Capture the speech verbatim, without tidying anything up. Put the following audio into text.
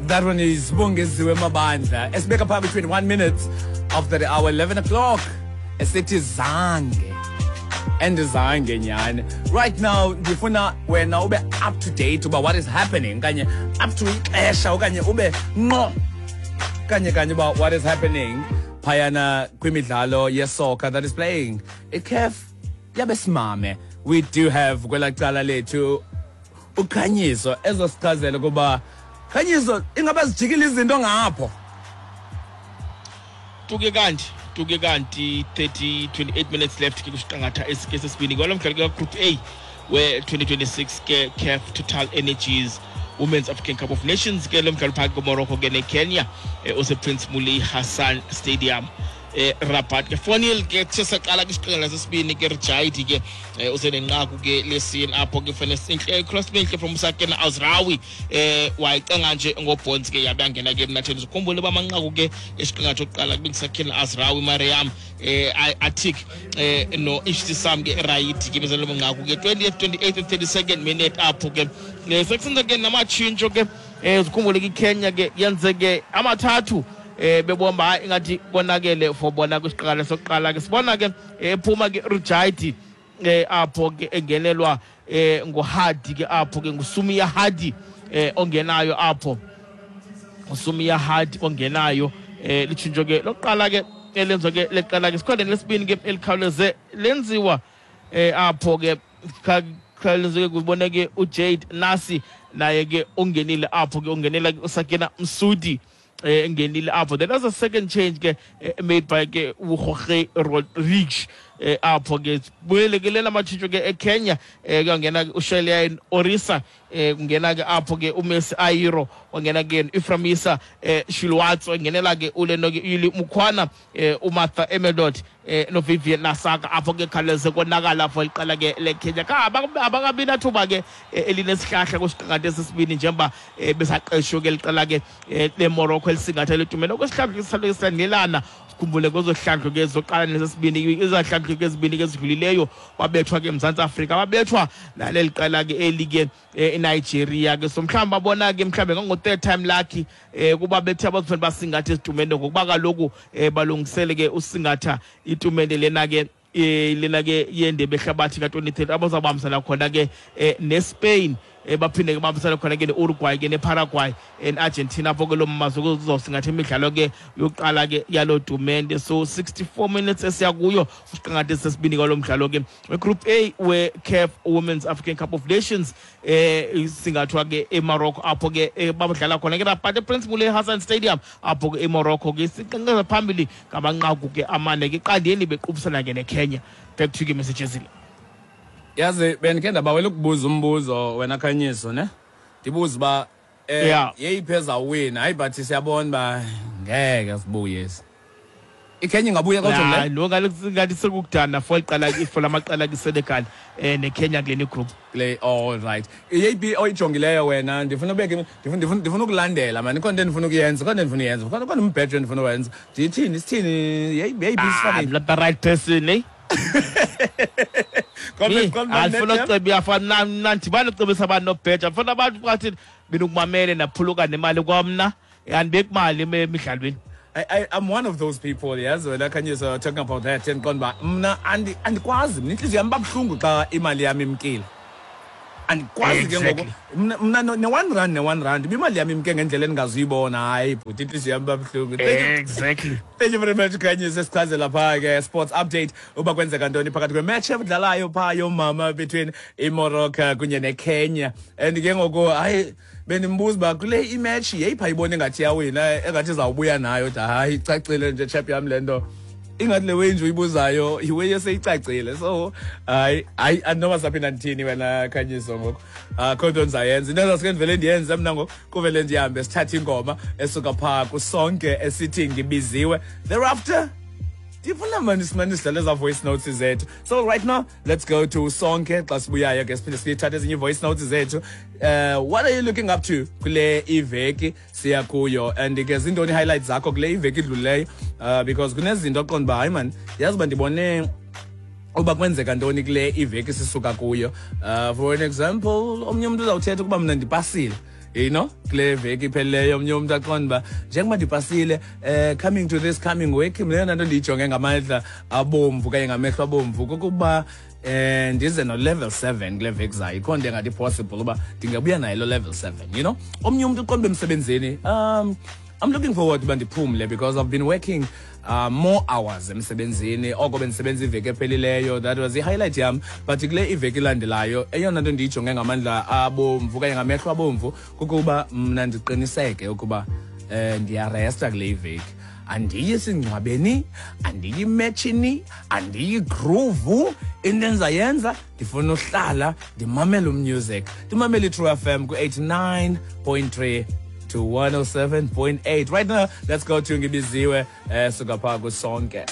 That one is Bongeziwe Mabandla. Esibeka phaa twenty-one minutes after the hour eleven o'clock. Esithi zange. And zange nyani. Right now ndifuna wena ube up to date uba what is happening kanye up to ixesha okanye ube ngqo kanye kanye uba what is happening phayana kwimidlalo yesoccer that is playing. I-CAF yabesimame. We do have kwela cala lethu uKhanyiso ezosichazela kuba Khanyiso ingaba zijikile izinto ngapho. Tuke kanti tuke kanti thirty twenty-eight minutes left ke kusiqangatha esike sesibini kwalo mdlalo ka Group A we twenty twenty-six ke CAF Total Energies Women's African Cup of Nations ke lo mdlalo phakathi kweMorocco ke neKenya ose Prince Moulay Hassan Stadium eh Rabat ke four nil ke sesaqala kwisiqela sesibini ke Rjaidi ke usenenqaku ke lesini apho ke fene inhle cross enhle from Sakena Azrawi eh wayicenga nje ngobonds ke yabangena ke emnatheni. Ukhumbule bamanqaku ke esiqingatha oqala kubingisakena Azrawi Mariam eh Atik eh no Ishtisam ke Raidi ke bezelo manqaku ke twentieth, twenty-eighth and thirty-second minute apho ke sekusenza ke namatshintsho ke eh ukhumbule ke Kenya ke yenze ke amathathu eh bebomba ingathi konakele for bona kwisiqala sokuqala ke sibona ke ephuma ke Rujaidi eh apho ke engenelwa eh nguHadi ke apho ke nguSumia Hadi eh ongenayo apho uSumia Hadi ongenayo eh litshintsho ke lokuqala ke elenzo ke leqala ke sikhona lesibini ke elikhawuleze lenziwa eh apho ke khawuleze ke kubona ke uJade Nasi naye ke ungenile apho ke ungenela uSakena Msudi engenile apho. Then there's a second change ke made by ke uJorge Rodriguez apho ke buyele ke lena matshintsho ke eKenya kuyangena uShelian Orisa kungena ke apho ke uMessi Airo wangena ke Iframisa Shilwatso ngenela ke uleno ke Yuli Mukhwana uMartha Emelot no Vivian Nasaka apho ke khaleze konakala apho iqala ke leKenya ka abakabi nathuba ke elinesihlahla kwisiqangatha sesibini njengoba besaqeshwe ke liqala ke leMorocco elisingatha letumelo kwesihlahla silandelana. Sikhumbule kwezohlandlo ke zoqala nesesibini izahlandlo ke ezibini ke ezidlulileyo babethwa ke eMzantsi Afrika babethwa naleli qala ke eli ke eNigeria ke so mhlawumbe babona ke mhlawumbe ngango third time lucky kuba bethe abazofana basingatha isitumende ngokuba kaloku balungisele ke usingatha itumende lena ke lena ke yendebe ehlabathi ka twenty thirty abazabambisana khona ke neSpain baphinde ke bambisana khona ke neUruguay ke neParaguay neArgentina apho ke lo mazwe kuzosingatha imidlalo ke yokuqala ke yalo tumente. So sixty-four minutes esiya kuyo usiqangatha sesibini kwalo mdlalo ke Group A we CAF Women's African Cup of Nations eh singathwa ke eMorocco apho ke babadlala khona ke Rabat Prince Moulay Hassan Stadium apho ke eMorocco ke siqanqaza phambili ngamanqaku ke amane ke qandeni bequbisana ke neKenya. Back to you messages. Yazi bendikhe ndabawela ukubuza umbuzo wena Khanyiso ne ndibuza uba eh yeyiphi ezawina hayi but siyabona uba ngeke sibuye iKenya ingabuya kodwa le lo ngathi sekukudana for iqala ifo lamaqala kiSenegal eh neKenya kule group le. All right, yeyiphi oyijongileyo wena? Ndifuna ubeke ndifuna ndifuna ndifuna ukulandela man ikhona into endifuna ukuyenza khona ndifuna uyenza khona khona umbhejo endifuna uwenza ndithini sithini yeyiphi sifake I'm the right person eh andifuna ukucebisa afana mna ndibane ukucebisa abantu nobheja ndifuna abantu bathi mina ukumamele naphuluka nemali kwamna andibeki mali emidlalweni. I, I, I'm one of those people, yes. Wena Khanyiso talking about that and qonda mna andi andikwazi mina inhliziyo yami babuhlungu xa imali yami imkile. Andikwazi ke ngoku mna ne one rand ne one rand imali yami imke ngendlela endingazuyibona hayi bhuti inhliziyo yami babuhlungu. Exactly. Thank you very much Khanyiso sichazela pha ke sports update uba kwenzeka ntoni phakathi kwe-match ebudlalayo pha yomama between iMorocco kunye neKenya. And ke ngoku hayi benimbuza uba kule imatch yeyiphi ayibone engathi yawina engathi izawubuya nayo da hayi icacile nje chap yami le nto ingathi le way nje uyibuzayo iway eseyicacile so hayi hayi andinoba saphinda ndithini wena Khanyiso ngoku akho nto ndizayenza into ezasuke ndivele ndiyenze mna ngoku kuvele ndihambe sithathe ingoma esuka phaa kusonke esithi ngibiziwe thereafter ndifuna mani simane sidlale eza voice notes zethu. So right now let's go to Sonke xa sibuyayo ke siphinde siyithathe ezinye voice notes zethu. Uh, what are you looking up to kule iveki siya kuyo and ke zintoni highlights zakho kule iveki idlulileyo uh, because kunezinto oqonda uba hayi man yazi uba ndibone uba kwenzeka ntoni kule iveki sisuka kuyo. Uh, for an example omnye umntu uzawuthetha ukuba mna ndipasile You know, kule veki iphelileyo, omnye umntu aqonda uba njengoba ndipasile, um coming to this coming week, mna eyona nto ndiyijonge ngamandla abomvu okanye ngamehlo abomvu kukuba eh ndize no-level seven kule veki zayo. Ikhona into engathi possible uba ndingabuya nayo lo level seven you know Omnye umntu uqonda uba emsebenzini, um I'm looking forward uba ndiphumle because I've been working uh, more hours emsebenzini oko bendisebenza iveki ephelileyo. That was i-highlight yam. But kule iveki ilandelayo, eyona nto ndiyijonge ngamandla abomvu okanye ngamehlo abomvu kukuba mna ndiqiniseke ukuba um ndiyaresta kule iveki. Andiyi singcwabeni, andiyi metshini, andiyi groove. Into endizayenza, ndifuna uhlala ndimamele umusic, ndimamele i-True F M ku-eighty-nine point three to one oh seven point eight. Right now, let's go to Ngibiziwe, eh suka phaa kuSonke.